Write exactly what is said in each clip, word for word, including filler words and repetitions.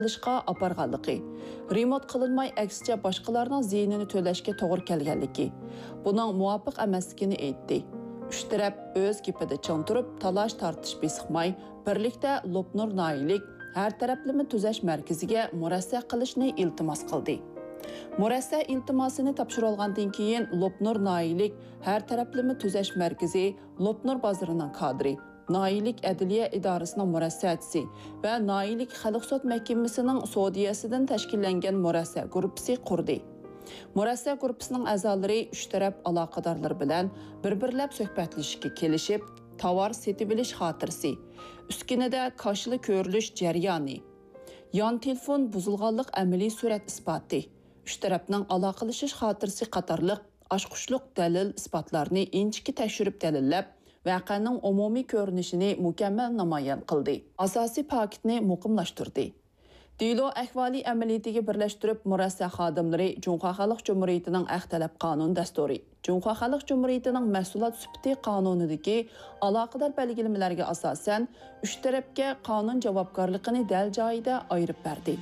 قىلىشقا ئاپارغانلىقى، رېمونت قىلىنماي، ئەكسىچە باشقىلارنىڭ زىيىنىنى تۆلەشكە توغرا كەلگەنلىكى، بۇنىڭ مۇۋاپىق ئەمەسلىكىنى ئېيتتى. ئۈچ تەرەپ ئۆز گېپىدە چىڭ تۇرۇپ، تالاش-تارتىش بېسىقماي، بىرلىكتە لوپنۇر ناھىيەلىك ھەر تەرەپلىمە تۈزەش مەركىزىگە مۇرەسسە قىلىشنى ئىلتىماس قىلدى. مۇرەسسە ئىلتىماسىنى تاپشۇرۇۋالغاندىن كېيىن، لوپنۇر ناھىيەلىك ھەر تەرەپلىمە تۈزەش مەركىزى لوپنۇر بازىرىنىڭ كادىرى، ناھىيەلىك ئەدلىيە ئىدارىسىنىڭ مۇرەسسەچىسى ۋە ناھىيەلىك خەلق سوت مەھكىمىسىنىڭ سودىيەسىدىن تەشكىللەنگەن مۇرەسسە گۇرۇپپىسى قۇردى. مۇرەسسە گۇرۇپپىسىنىڭ ئەزالىرى ئۈچ تەرەپ ئالاقىدارلىرى بىلەن بىر-بىرلەپ سۆھبەتلىشىشكە كېلىشىپ، تاۋار سېتىۋېلىش خاتىرىسى، ئۈسكۈنىدە كاشىلا كۆرۈلۈش جەريانى، يان تېلېفون بۇزۇلغانلىق ئەمەلىي سۈرەت ئىسپاتى، ئۈچ تەرەپنىڭ ئالاقىلىشىش خاتىرىسى قاتارلىق ئاچقۇچلۇق دەلىل-ئىسپاتلارنى ئىنچىكە تەكشۈرۈپ دەلىللەپ، ۋەقەنىڭ ئومۇمىي كۆرۈنۈشىنى مۇكەممەل نامايان قىلدى، ئاساسىي پاكىتنى مۇقىملاشتۇردى. دېلو ئەھۋالى ئەمەلىيىتىگە بىرلەشتۈرۈپ، مۇرەسسە خادىملىرى جۇڭخۇا خەلق جۇمھۇرىيىتىنىڭ ئەخ تەلەپ قانۇن دەستۇرى، جۇڭخۇا خەلق جۇمھۇرىيىتىنىڭ مەھسۇلات سۈپىتى قانۇنىدىكى ئالاقىدار بەلگىلىمىلەرگە ئاساسەن، ئۈچ تەرەپكە قانۇن جاۋابكارلىقىنى دەل جايىدا ئايرىپ بەردى.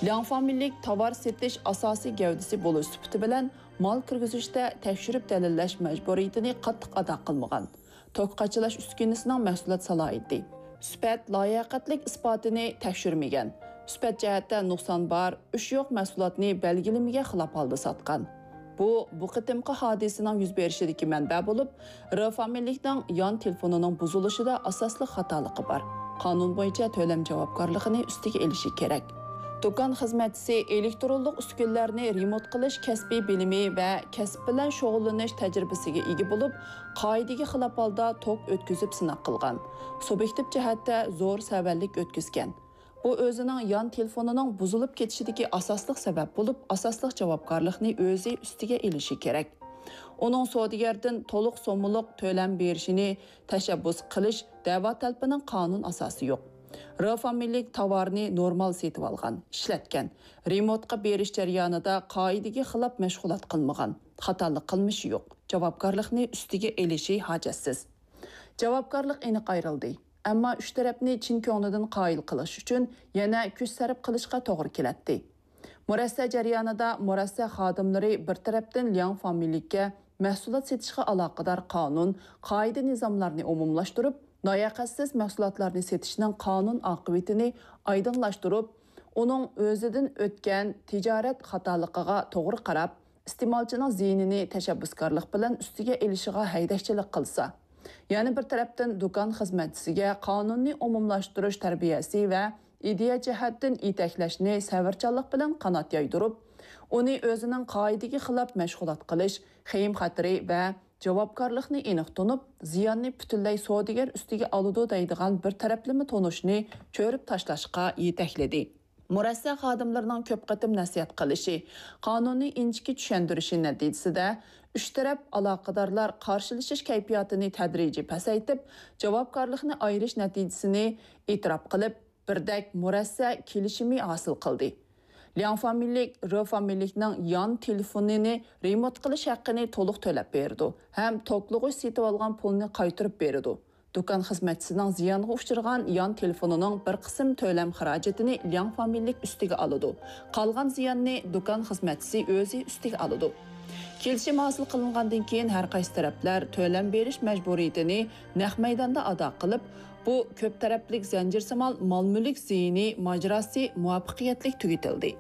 لياڭ فامىلىلىك تاۋار سېتىش ئاساسىي گەۋدىسى بولۇش سۈپىتى بىلەن، مال كىرگۈزۈشتە تەكشۈرۈپ دەلىللەش مەجبۇرىيىتىنى قاتتىق ئادا قىلمىغان، توك قاچىلاش ئۈسكۈنىسىنىڭ مەھسۇلات سالاھىيىتى، سۈپەت لاياقەتلىك ئىسپاتىنى تەكشۈرمىگەن، سۈپەت جەھەتتە نۇقسان بار، ئۈچ يوق مەھسۇلاتنى بەلگىلىمىگە خىلاپ ھالدا ساتقان. بۇ، بۇ قېتىمقى ھادىسىنىڭ يۈز بېرىشىدىكى مەنبە بولۇپ، ر فامىلىلىكنىڭ يان تېلېفونىنىڭ بۇزۇلۇشىدا ئاساسلىق خاتالىقى بار. قانۇن بويىچە تۆلەم جاۋابكارلىقىنى ئۈستىگە ئېلىشى كېرەك. دۇكان خىزمەتچىسى ئېلېكترونلۇق ئۈسكۈنىلەرنى رېمونت قىلىش كەسپىي بىلىمى ۋە كەسىپ بىلەن شۇغۇللىنىش تەجرىبىسىگە ئىگە بولۇپ، قائىدىگە خىلاپ ھالدا توك ئۆتكۈزۈپ سىناق قىلغان. سۇبيېكتىپ جەھەتتە زور سەۋەنلىك ئۆتكۈزگەن. بۇ ئۆزىنىڭ يان تېلېفونىنىڭ بۇزۇلۇپ كېتىشىدىكى ئاساسلىق سەۋەب بولۇپ، ئاساسلىق جاۋابكارلىقنى ئۆزى ئۈستىگە ئېلىشى كېرەك. ئۇنىڭ سودىگەردىن تولۇق سوممىلىق تۆلەم بېرىشىنى تەشەببۇس قىلىش دەۋا تەلىپىنىڭ قانۇن ئاساسى يوق. ر فامىلىلىك تاۋارنى نورمال سېتىۋالغان، ئىشلەتكەن، رېمونتقا بېرىش جەريانىدا قائىدىگە خىلاپ مەشغۇلات قىلمىغان، خاتالىق قىلمىشى يوق، جاۋابكارلىقنى ئۈستىگە ئېلىشى ھاجەتسىز. جاۋابكارلىق ئېنىق ئايرىلدى. ئەمما ئۈچ تەرەپنى چىن كۆڭلىدىن قايىل قىلىش ئۈچۈن يەنە كۈچ سەرپ قىلىشقا توغرا كېلەتتى. مۇرەسسە جەريانىدا مۇرەسسە خادىملىرى بىر تەرەپتىن لياڭ فامىلىلىككە مەھسۇلات سېتىشقا ئالاقىدار قانۇن، قائىدە-نىزاملارنى ئومۇملاشتۇرۇپ، لاياقەتسىز مەھسۇلاتلارنى سېتىشنىڭ قانۇن ئاقىۋىتىنى ئايدىڭلاشتۇرۇپ، ئۇنىڭ ئۆزىدىن ئۆتكەن تىجارەت خاتالىقىغا توغرا قاراپ، ئىستېمالچىنىڭ زىيىنىنى تەشەببۇسكارلىق بىلەن ئۈستىگە ئېلىشىغا ھەيدەكچىلىك قىلسا، يەنە بىر تەرەپتىن دۇكان خىزمەتچىسىگە قانۇننى ئومۇملاشتۇرۇش تەربىيەسى ۋە ئىدىيە جەھەتتىن يېتەكلەشنى سەۋرچانلىق بىلەن قانات يايدۇرۇپ، ئۇنى ئۆزىنىڭ قائىدىگە خىلاپ مەشغۇلات قىلىش خېيىم-خەتىرى ۋە جاۋابكارلىقنى ئېنىق تونۇپ، زىياننى پۈتۈنلەي سودىگەر ئۈستىگە ئالىدۇ دەيدىغان بىر تەرەپلىمە تونۇشنى چۆرۈپ تاشلاشقا يېتەكلىدى. مۇرەسسە خادىملىرىنىڭ كۆپ قېتىم نەسىھەت قىلىشى، قانۇننى ئىنچىكە چۈشەندۈرۈشى نەتىجىسىدە، ئۈچ تەرەپ ئالاقىدارلار قارشىلىشىش كەيپىياتىنى تەدرىجىي پەسەيتىپ، جاۋابكارلىقنى ئايرىش نەتىجىسىنى ئېتىراپ قىلىپ، بىردەك مۇرەسسە كېلىشىمى ھاسىل قىلدى. لياڭ فامىلىلىك ر فامىلىلىكنىڭ يان تېلېفونىنى رېمونت قىلىش ھەققىنى تولۇق تۆلەپ بېرىدۇ ھەم توكلىغۇچ سېتىۋالغان پۇلنى قايتۇرۇپ بېرىدۇ. دۇكان خىزمەتچىسىنىڭ زىيانغا ئۇچرىغان يان تېلېفونىنىڭ بىر قىسىم تۆلەم خىراجىتىنى لياڭ فامىلىلىك ئۈستىگە ئالىدۇ. قالغان زىياننى دۇكان خىزمەتچىسى ئۆزى ئۈستىگە ئالىدۇ. كېلىشىم ھاسىل قىلىنغاندىن كېيىن، ھەر قايسى تەرەپلەر تۆلەم بېرىش مەجبۇرىيىتىنى نەق مەيداندا ئادا قىلىپ، بۇ كۆپ تەرەپلىك زەنجىرسىمال مال-مۈلۈك زىيىنى ماجىراسى مۇۋەپپەقىيەتلىك تۈگىتىلدى.